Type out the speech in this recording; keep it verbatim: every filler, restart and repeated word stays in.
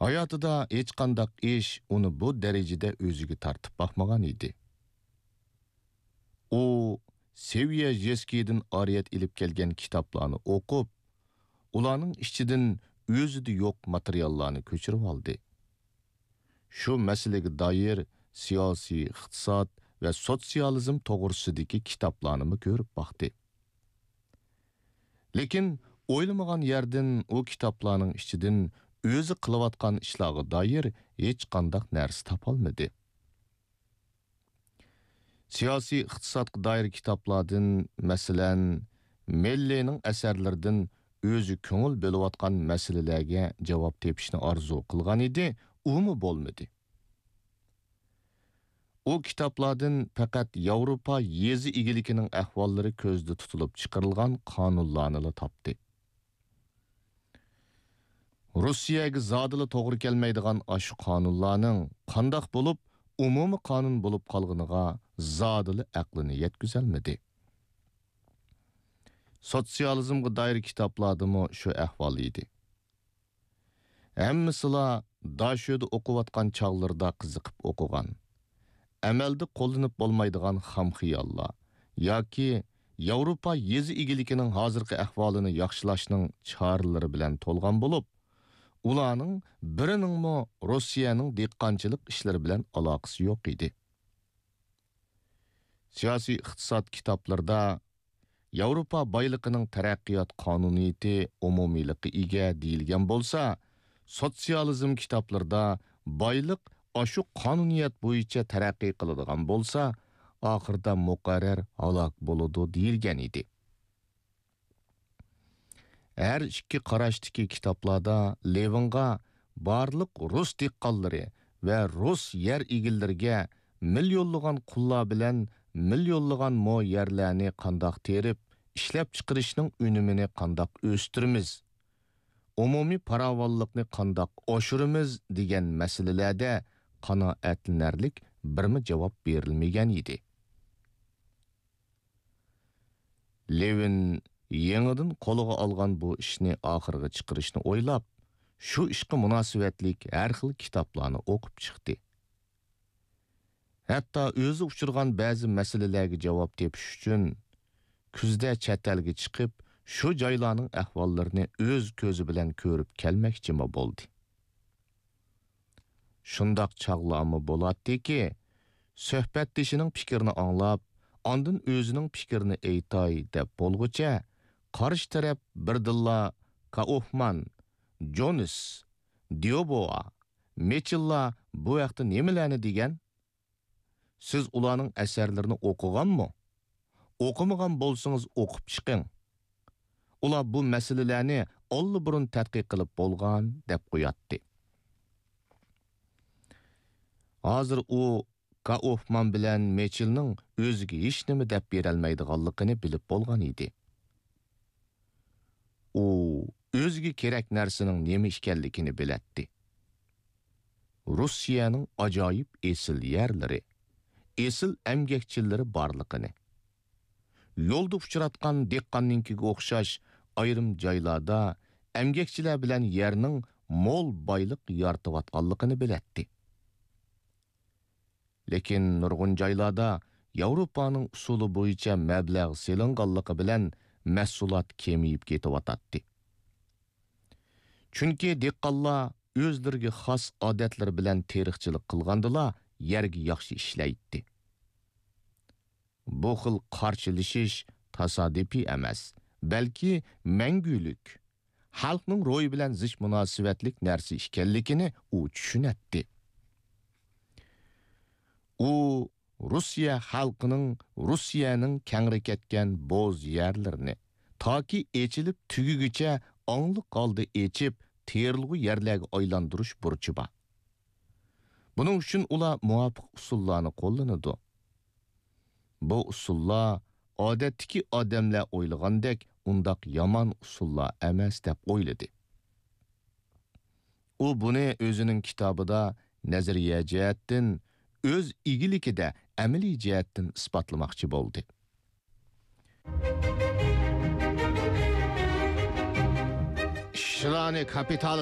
ھاياتىدا ھېچقانداق ئىش ئۇنى بۇ دەرىجىدە ئۆزىگە تارتىپ باقمىغان ئىدى. ئۇ سېۋيەژېسكىيدىن ئارىيەت ئېلىپ كەلگەن كىتابلارنى ئوقۇپ، ئۇلارنىڭ ئىچىدىن ئۆزىدە يوق ماتېرىياللارنى كۆچۈرۈۋالدى. شۇ مەسىلىگە دائىر سىياسىي، ئىقتىساد ۋە سوتسىيالىزم توغرىسىدىكى كىتابلارنىمۇ كۆرۈپ باقتى. لېكىن ئويلىمىغان يەردىن ئۇ كىتابلارنىڭ ئىچىدىن ئۆزى قىلىۋاتقان ئىشلارغا دائىر ھېچقانداق نەرسە تاپالمىدى. سىياسىي ئىقتىسادقا دائىر كىتابلاردىن، مەسىلەن، مېللېنىڭ ئەسەرلىرىدىن ئۆزى كۆڭۈل بۆلۈۋاتقان مەسىلىلەرگە جاۋاب تېپىشنى ئارزۇ قىلغان ئىدى، ئۇمۇ بولمىدى. ئۇ كىتابلاردىن پەقەت ياۋروپا يېزا ئىگىلىكىنىڭ ئەھۋاللىرى كۆزدە تۇتۇلۇپ چىقىرىلغان قانۇنلارنىلا تاپتى. روسىيەگە زادىلا توغرا كەلمەيدىغان ئاشۇ قانۇنلارنىڭ قانداق بولۇپ، ئومۇمىي قانۇن بولۇپ قالغىنىغا زادىلا ئەقلىنى يەتكۈزەلمىدى. سوتسىيالىزمغا دائىر كىتابلاردىمۇ شۇ ئەھۋال ئىدى. ھەممىسىلا داشۆدە ئوقۇۋاتقان چاغلىرىدا قىزىقىپ ئوقۇغان، ئەمەلدە قوللىنىپ بولمايدىغان خام خىياللار ياكى ياۋروپا يېزا ئىگىلىكىنىڭ ھازىرقى ئەھۋالىنى ياخشىلاشنىڭ چارىلىرى بىلەن تولغان بولۇپ، ئۇلارنىڭ بىرىنىڭمۇ روسىيەنىڭ دېھقانچىلىق ئىشلىرى بىلەن ئالاقىسى يوق ئىدى. سىياسىي ئىقتىساد كىتابلىرىدا ياۋروپا بايلىقىنىڭ تەرەققىيات قانۇنىيىتى ئومۇمىيلىققا ئىگە دېيىلگەن بولسا، سوتسىيالىزم كىتابلىرىدا بايلىق ئاشۇ قانۇنىيەت بويىچە تەرەققىي قىلىدىغان بولسا، ئاخىرىدا مۇقەررەر ھالاك بولىدۇ دېيىلگەن ئىدى. ھەر ئىككى قاراشتىكى كىتابلاردا لېۋىنغا بارلىق رۇس دېھقانلىرى ۋە رۇس يەر ئىگىلىرىگە مىليونلىغان قۇللار بىلەن مىليونلىغان مو يەرلەرنى قانداق تېرىپ، ئىشلەپچىقىرىشنىڭ ئۈنۈمىنى قانداق ئۆستۈرىمىز، ئومۇمىي پاراۋانلىقنى قانداق ئاشۇرىمىز دېگەن مەسىلىلەردە قانائەتلىنەرلىك بىرمۇ جاۋاب بېرىلمىگەن ئىدى. لېۋىن يېڭىدىن قولىغا ئالغان بۇ ئىشنى ئاخىرغا چىقىرىشنى ئويلاپ، شۇ ئىشقا مۇناسىۋەتلىك ھەر خىل كىتابلارنى ئوقۇپ چىقتى. ھەتتا ئۆزى ئۇچرىغان بەزى مەسىلىلەرگە جاۋاب تېپىش ئۈچۈن، كۈزدە چەت ئەلگە چىقىپ، شۇ جايلارنىڭ ئەھۋاللىرىنى ئۆز كۆزى بىلەن كۆرۈپ كەلمەكچىمۇ بولدى. شۇنداق چاغلارمۇ بولاتتىكى، سۆھبەتدىشىنىڭ پىكرىنى ئاڭلاپ، ئاندىن ئۆزىنىڭ پىكرىنى ئېيتاي دەپ بولغۇچە، قارشى تەرەپ بىردىنلا كائوفمان، جونس، ديوبوۋا، مېچېللار بۇ ھەقتە نېمىلەرنى دېگەن؟ سىز ئۇلارنىڭ ئەسەرلىرىنى ئوقۇغانمۇ؟ ئوقۇمىغان بولسىڭىز ئوقۇپ چىقىڭ. ئۇلار بۇ مەسىلىلەرنى ئاللىبۇرۇن تەتقىق قىلىپ بولغان دەپ قوياتتى. ھازىر ئۇ كائوفمان بىلەن مېچېلنىڭ ئۆزىگە ھېچنېمە دەپ بېرەلمەيدىغانلىقىنى بىلىپ بولغان ئىدى. ئۇ ئۆزىگە كېرەك نەرسىنىڭ نېمە ئىكەنلىكىنى بىلەتتى. روسىيەنىڭ ئاجايىپ ئېسىل يەرلىرى، ئېسىل ئەمگەكچىلىرى بارلىقىنى، يولدا ئۇچراتقان دېھقاننىڭكىگە ئوخشاش ئايرىم جايلاردا ئەمگەكچىلەر بىلەن يەرنىڭ مول بايلىق يارىتىۋاتقانلىقىنى بىلەتتى. لېكىن نۇرغۇن جايلاردا ياۋروپانىڭ ئۇسۇلى بويىچە مەبلەغ سېلىنغانلىقى بىلەن مەھسۇلات كېمىيىپ كېتىۋاتاتتى. چۈنكى دېھقانلار ئۆزلىرىگە خاس ئادەتلىرى بىلەن تېرىقچىلىق قىلغاندىلا يەرگە ياخشى ئىشلەيتتى. بۇ خىل قارشىلىشىش تاسادىپىي ئەمەس، بەلكى مەڭگۈلۈك، خەلقنىڭ روھى بىلەن زىچ مۇناسىۋەتلىك نەرسە ئىكەنلىكىنى ئۇ چۈشىنەتتى. ئۇ روسىيە خەلقىنىڭ روسىيەنىڭ كەڭرى كەتكەن بوز يەرلىرىنى تاكى ئېچىلىپ تۈگىگۈچە ئاڭلىق ھالدا ئېچىپ، تېرىلغۇ يەرلەرگە ئايلاندۇرۇش بۇرچى بار. بۇنىڭ ئۈچۈن ئۇلار مۇۋاپىق ئۇسۇللارنى قوللىنىدۇ. بۇ ئۇسۇللار ئادەتتىكى ئادەملەر ئويلىغاندەك ئۇنداق يامان ئۇسۇللار ئەمەس دەپ ئويلىدى. ئۇ بۇنى ئۆزىنىڭ كىتابىدا نەزەرىيە جەھەتتىن، ئۆز ئىگىلىكىدە ئەمەلىي جەھەتتىن ئىسپاتلىماقچى بولدى. ئىشلارنى كاپىتالىست